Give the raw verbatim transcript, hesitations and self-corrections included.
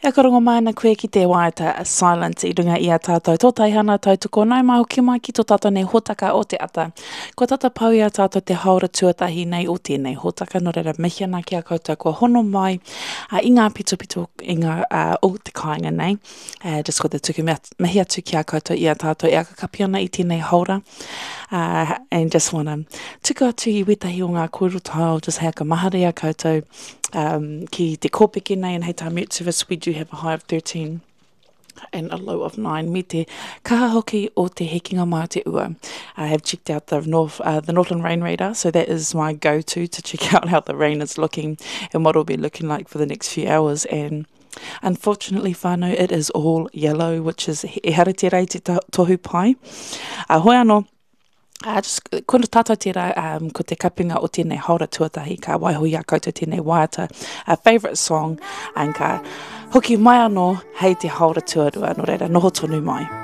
E karongo mai ana koe ki te waiata Silent i runga i a tātou tō taihana tautoko nau mai hoki mai ki tō tātou nei hōtaka o te ata. Kua tata pau i a tātou te haora tuatahi nei o tēnei hōtaka, nō reira mihi ana ki a koutou kua hono mai uh, i ngā pitopito i ngā, uh, o te kāinga nei. Uh, just ko te tuku mihi atu ki a koutou i a tātou e akakapi ana i tēnei haora. Uh, and just wanna tuku atu i wetahi o ngā kōrero tau, just hei aka mahara i a koutou um, ki te kōpeke nei and hei tā Met Service we do have a high of thirteen and a low of nine me te kaha hoki o te hekinga mai o te ua. I have checked out the North, uh, the Northland Rain Radar, so that is my go-to to check out how the rain is looking and what it'll be looking like for the next few hours. And unfortunately, whānau, it is all yellow, which is e hara te rei te tohu pai. Uh, hoi anō, Uh, just, ko tātou tērā um, ko te kapinga o tēnei haora tuatahi, ka waiho i a koutou tēnei waiata, a favourite song, and ka hoki mai anō hei te haora tuarua, nō reira, noho tonu mai.